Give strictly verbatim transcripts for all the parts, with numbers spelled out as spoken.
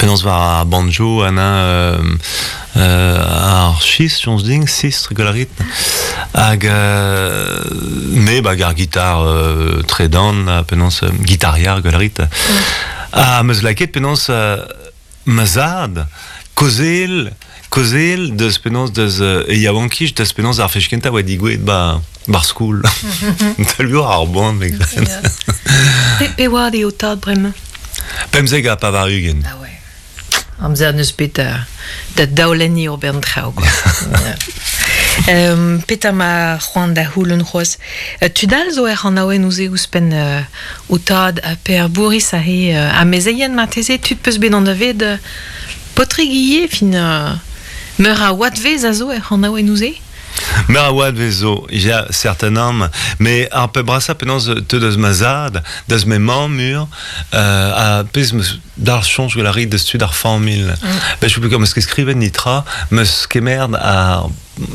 Penaos war ar banjo an euh, euh, ar schis, chons ding, sistr golarit. Hag euh, me ba gar gitar euh, tredan, penaos euh, gitariar golarit. Mm. Ha meus laket penaos euh, ma zad, kozel, kozel deus penaos deus euh, e yaouankij deus penaos ar fechkenta oa digouet ba bar skoul. Talur ar boan, me gren. Pe, pe oa eo tad bremañ? Pemzeg ha pavar ugent. Ah ouais. Amzer neus bet da, da daolenni ur bern traoù, quoi. um, Petra ma c'hoant da c'houlenn c'hoazh. Uh, tudal zo er an aouen ouze ouzhpenn uh, o tad ha per Bourris a he uh, amezeien marteze tud peus bet an da ved uh, potrig ivez fin uh, meur a oadvez a zo er an aouen ouze? Meur a oadvez zo, ya certainement, mais ar pe brasa penaos te deus ma zad, deus me mamm mur, euh, a pez meus d'ar chonj gant ar rit deus tud ar familh. Mm. Ben, je sais meus ket skrivet nitra, meus kemerd ar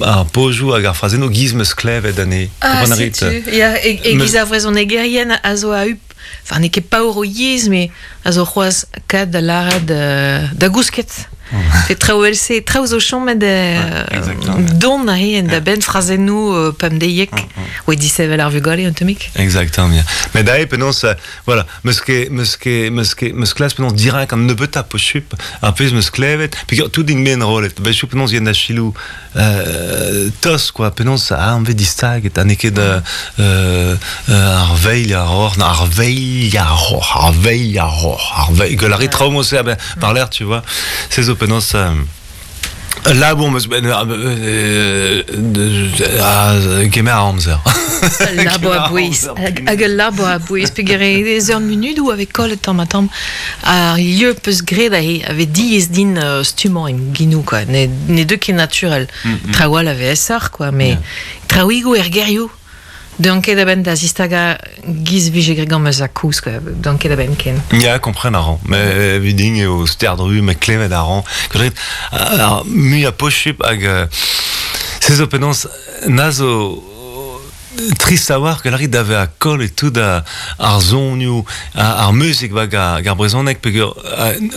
ar pojou hag ar frazenno giz meus klevet ane. Ah, setu. Ya, e, e giz ar vrezhonegerien a zo a up, enfin, n'eo ket paour o yezh, mais a zo c'hoazh kad da lâret da, da gousket. Fe traoù else, traoù zo chomet don a he en da ben frazennoù pemdeiek, oe disevel ar vugale un tammig. Exactement, ya. Mais da eo penaos, voilà, meus ket, meus ket, meus ket, meus klas penaos dirak an nebeutañ pochup, ar pezh meus klevet, peogwir tout din men rollet, ben chou penaos yen da chilou euh, tos, quoi, penaos a an vez distaget, ha n'eo ket euh, euh, ar veil ar roc'h, ar veil ar roc'h, ar veil ar roc'h, ar veil, que la rit traoù mos ben, par l'air, tu vois, c'est zo penaos euh, là bon meus ben euh, euh, kemer ar amzer. Labo a bouez, hag ul labo a bouez, peogwir ez ur munudoù avec kollet tamm ha tamm ar lieu peus graet ahe, ave diaes din uh, stummañ en ginou, quoi. Ne, ne deu ket naturel. Mm -hmm. Traoù all ave esoc'h, quoi, mais yeah. Traouigoù er gerioù. Deun ket a-benn da zistaga giz vije graet gant ma zakouz, quoi. Deun ket a-benn ken. Ya, kompren a ran. Mais viding eo sterdru, me klevet a ran. Gret, ar mui a pochup hag euh, se zo penaos na zo trist a war que la rit dave a kol et tout a, ar zonioù, ar muzik ba gar, gar brezhoneg peogwir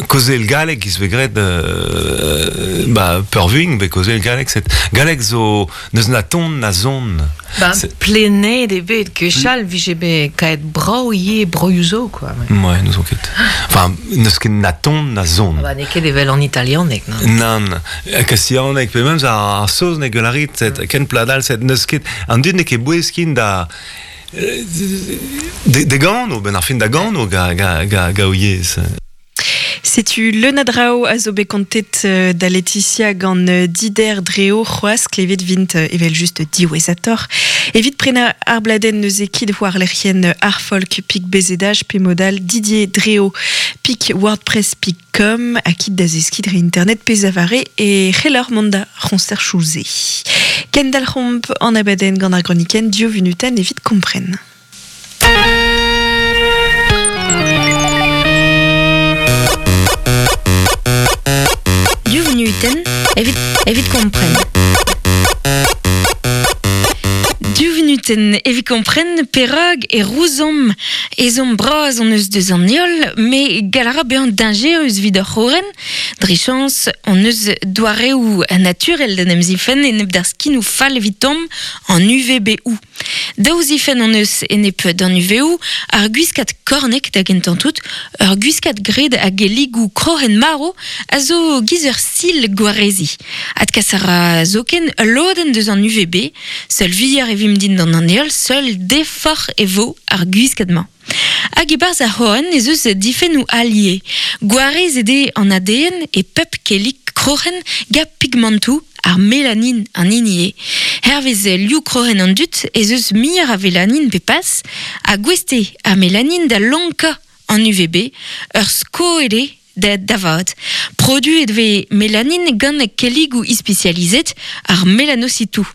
kozel galleg giz vez graet euh, ba peurvuiñ be kozel galleg set galleg zo neus na ton na zon. Ba plenet eo bet gwechall vije bet kaet brav ivez broioù zo, quoi. Ouais, n'eus ket. Enfin, neus ket na ton na zon. Ah ba n'eo ket evel an italianeg, non. Nann, kastianeg pe memes ar, ar saozneg la rit set ken pladal set neus ket an dud n'eo ket bouez kin da de, de gano, ben ar fin da gano ga, ga, ga, ga o yezh. Setu leun a draoù a zo bet kontet da Laetitia gant Dider Dreo c'hoazh klevet vint evel just diwezhator. Evit prenañ ar bladenn neuze kit war lec'hienn ar folk pik bezedaj pe modal Didier Dreo pik wordpress pik com ha kit da zeskiñ dre internet pe zavare e c'hellor mont da c'honster chouze. Kendal c'homp an abadenn gant ar gronikenn div vunutenn evit kompren. Div vunutenn evit, evit kompren. Div vunutenn evit kompren perag e rouzomp ezhomm bras hon eus deus an heol, me galara bezañ dañjerus evit ar c'horenn. Dre chañs hon eus doareoù naturel d'en em zifenn enep d'ar skinoù fall evitomp an U V B O. Daou zifenn hon eus enep d'an U V O, ar gwiskad kornek da gentañ tout, ur gwiskad graet hag eligoù krohenn marv a zo giz ur sil gwarezi. Adkas a ra zoken ul lodenn deus an U V B, seul vuioc'h e vimp dindan an heol, seul deforc'h e vo ar gwiskad-mañ. Hag e-barzh ar c'horenn ez eus difennoù allié. Gwarez eo an A D N e pep kellig kroc'hen ga pigmentoù ar melanin an hini eo. Hervez liv kroc'hen an dud ez eus muioc'h a velanin pe pas, ha gouest eo ar melanin da lonkañ an U V B, ur sko eo da davad. Produet vez melanin gant kelligoù ispisializet ar melanositou.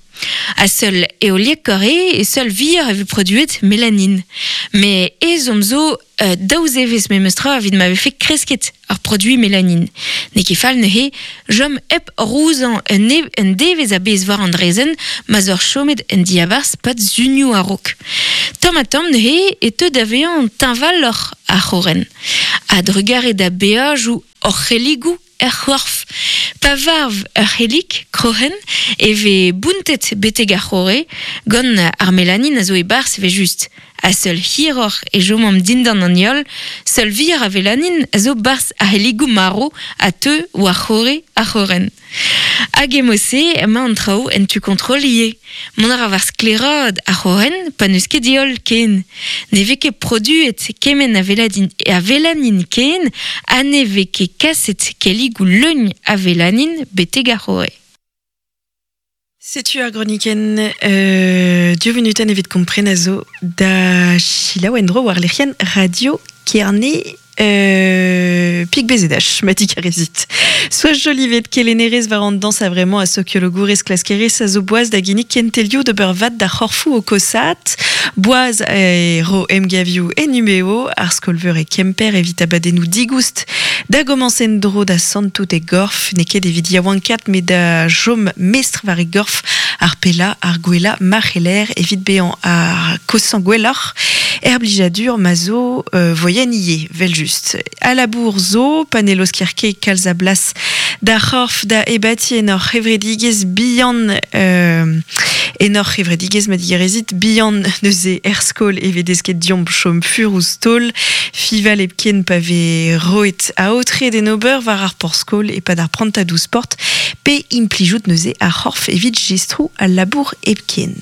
A seul eoliek eo e seul vir e vez produet mélanine. Me ezhomm zo euh, daou zevezh memestra evit ma vefe kresket ar produit mélanine. Ne ket fall neuze, jom hep rouzañ un, e, un devezh a-bezh war an draezhenn ma 'z eur chomet en diabarzh pad zunioù a-raok. Tamm ha tamm neuze e teu da vezañ teñvaloc'h ar c'horren. A drugare da beajoù hor c'helligoù er c'horf. Pa varv ur c'hellig, kroc'hen, e vez bountet betek ar c'horre gant ar mélanine a zo e-barzh e vez just. A seul hiroc'h e chomomp dindan an heol, seul vir a vélanine a zo barzh ar c'helligoù marv a teu war c'horre ar c'horren. Hag emo-se emañ an traoù en tu kontrol ivez. Mont a ra war sklaeraat ar c'horren pa n'eus ket heol ken. Ne vez ket produet kement a vélanine, a vélanine ken ha ne vez ket kaset kelligoù leun a vélanine betek ar c'horre. Setu ar gronikenn euh, div vunutenn evit kompren a zo da selaou en-dro war lec'hienn Radio Kerne euh, pik bezedach, ma digarezit. Soaz Jolivet kelennerez war an dañs a-vremañ ha sokiologourez klaskerez a zo boaz da ginnig kentelioù d'ober vad d'ar c'horfoù o koshaat, boaz e ro emgavioù en Numeo, ar skol-veur e Kemper evit abadennoù digoust da gomañs en-dro da santout e gorf, n'eo ket evit yaouankaat met da chom mestr war e gorf ar pellañ ar gwellañ ma c'heller evit bezañ ar kosañ gwelloc'h er blijadur ma zo euh, voien ivez, vel just. A labour zo, pa ne laosker ket kalz a blas d'ar c'horf da ebatiñ en hor c'hevredigezh bihan euh, en hor c'hevredigezh ma digarezit bihan neuze er skol e vez desket deomp chom fur ouzh taol, fiñval hepken pa vez roet aotre d'en ober war ar porzh-skol e-pad ar prantadoù sport pe implijout neuze ar c'horf evit jestroù al labour hepken.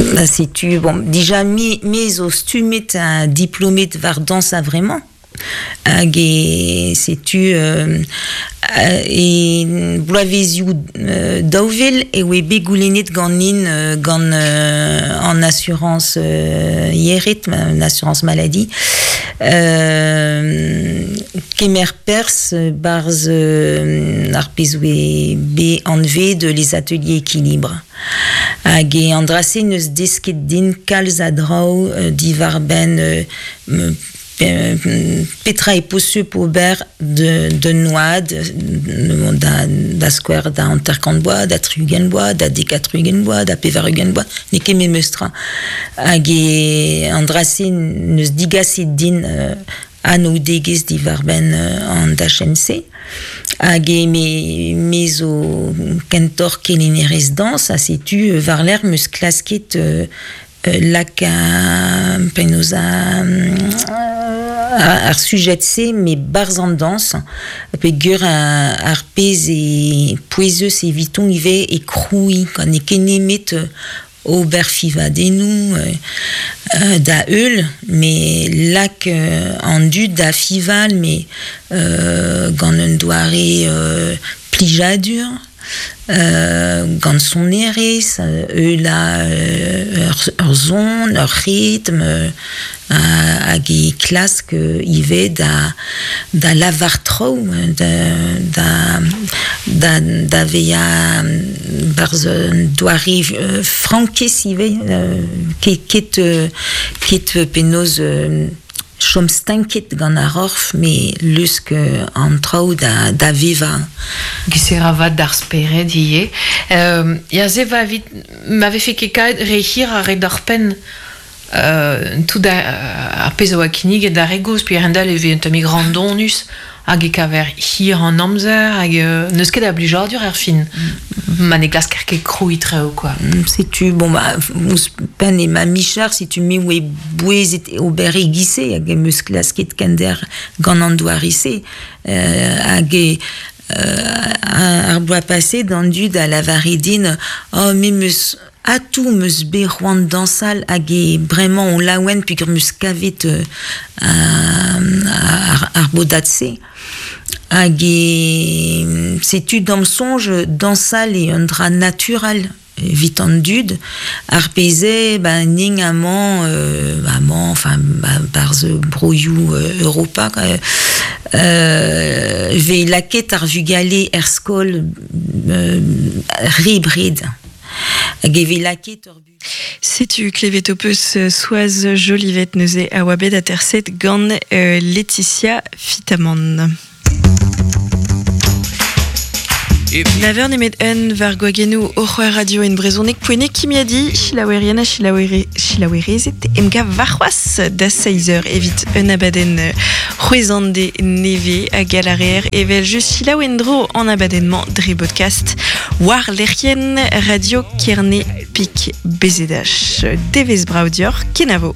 Ba setu, bon, dija me, me zo stummet ha diplomet war dañs a-vremañ. Hag e setu euh, e bloavezioù euh, daou vil e oe bet goulennet ganin euh, gant euh, an assurance euh, yec'hed, an assurance maladie. Euh, kemer perzh barzh euh, ar pezh oe bet anvet les ateliers équilibre. Hag e an dra-se neus desket din kalz a draoù euh, diwar-benn euh, petra e posupl ober de, de noad da, da skouer da hanter-kant bloaz, da tri-ugent bloaz, da dek ha tri-ugent bloaz, da pevar-ugent bloaz, n'eo ket memes tra. Hag e an dra-se neus digaset din euh, anaoudegezh diwar-benn euh, an dachenn-se. Hag e me, me zo kentoc'h kelennerez dañs, ha setu war-lerc'h 'm eus klasket euh, laka penaos a, ar sujed-se me barzh an dañs peogwir ar pezh e pouezus eviton ivez e krouiñ quand n'eo ket nemet ober fiñvadennoù euh, da heul me lak an dud da fiñval me euh, gant un doare euh, plijadur euh, gant sonerezh, eul a ur, ur son, ur ritm, hag e klask ivez da, da lavar traoù, da, da, da, da vezañ barzh un doare frankez ivez, ket, ket, ket penaos chom stanket gant ar c'horf, me lusk an traoù da, da vevañ. Hag se ra vad d'ar spered ivez. Euh, ya se va evit ma vefe ket kaet re hir ar re d'ar penn euh, tout ar pezh a oa kinniget d'ar re gozh, pe a-hend-all e vez un tammig randonus hag e kaver hir an amzer hag euh, n'eus ket a blijadur er fin. Mm. Ma ne glasker ket krouiñ traoù, quoi. Setu, bon, ba, ouzhpenn e ma micher, setu me oe bouezet ober e-giz-se hag em eus klasket kender gant an doare-se. Euh, hag e euh, ar bloaz paset an dud a lavare din oh, me 'm eus atav 'm eus bet c'hoant dañsal hag e bremañ on laouen peogwir 'm eus kavet euh, ar, ar bodad-se. Hag e setu d'am soñj dañsal eo un dra natural evit an dud ar pezh eo ba ning amañ euh, amañ enfin ba, barzh broioù euh, Europa euh, vez laket ar vugale er skol euh, re bred. Hag e vez laket ur bu. Setu klevet ho peus Soaz Jolivet neuze a oa bet aterset gant euh, Laetitia Fitamant. Naver nemet un var gwagenou o c'hoar radio en brezhoneg poenek kimiadi chilaouerien ha chilaouere, chilaouerezet emgav varc'hoazh da seizh eur evit un abadenn c'hwezande neve hag galareer evel just chilaouendro an abadenn-mañ dre podcast war lec'hienn radio Kerne Pik B Z H. Devez brao dior, kenavo.